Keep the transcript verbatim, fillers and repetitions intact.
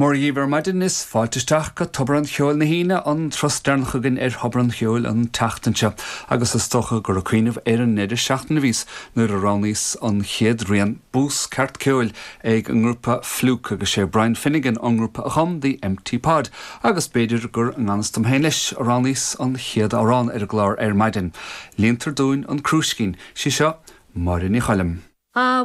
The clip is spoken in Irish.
Mora dhíbh ar maidin is fáilte isteach go Tobar an Cheoil na hAoine an turas deireanach againn ar Thobar an Cheoil an tseachtain seo, agus is dócha gur ag cuimhneamh ar an ndeireadh seachtaine a bhís nuair a roghnaíos an chéad rian bús ceart ceoil ag an ngrúpa Fluke agus sé Brian Finnegan an grúpa a chum The Empty Pod, agus b'fhéidir gur i ngan fhios dom féin leis a roghnaíos an chéad amhrán ar an gclár ar maidin. Líontar dúinn an crúiscín, sí seo Máire Ní Choilm. A